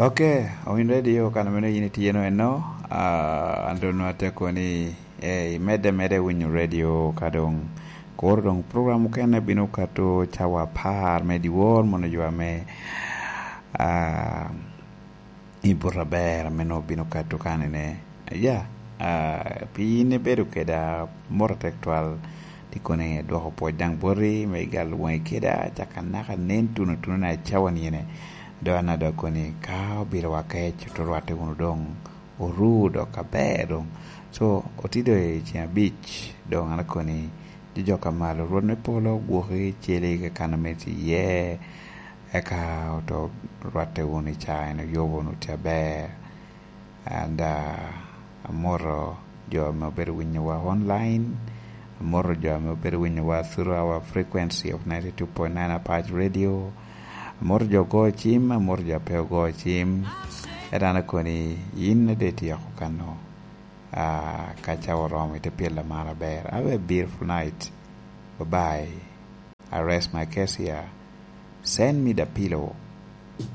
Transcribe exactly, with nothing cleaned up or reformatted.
Ok, owiny radio kan meno yin itye no eno, ah, an doŋ nwa atye koni, eh, imedde medde winyo radio ka doŋ koro doŋ program okene bino kato cawa apar me dyewor mono jo ame, ah, i buto aber ame nwa obino kato kanene. Ya, ah, pi yin ibedo keda, mot atek twal, ti koni dwoko pwoc daŋ boti me igal waŋi keda, caka naka nen tuno tuno na cawa niene. Dok an adok koni ka obilo wa kec, oto rwatte wunu doŋ, oru dok aber doŋ. So, otido i ceng abic, doŋ an akoni, jojok a malo, Rwot me polo gwoki celi kakano me ti iye, eka oto rwatte wunu i caa en, oyobo wunu tye aber. And, ah, amoto jo ame obedo winyowa online, amoto jo ame obedo winyowa through our frequency of ninety-two point nine Apac Radio, amoto jo ogo cim, amoto jo a pe ogo cim. Ento an akoni, yin ade ityeko kano, ah, ka cawa oromo, ite pyelo amar aber. Have a beautiful night. Bye-bye. I rest my case here. Send me the pillow.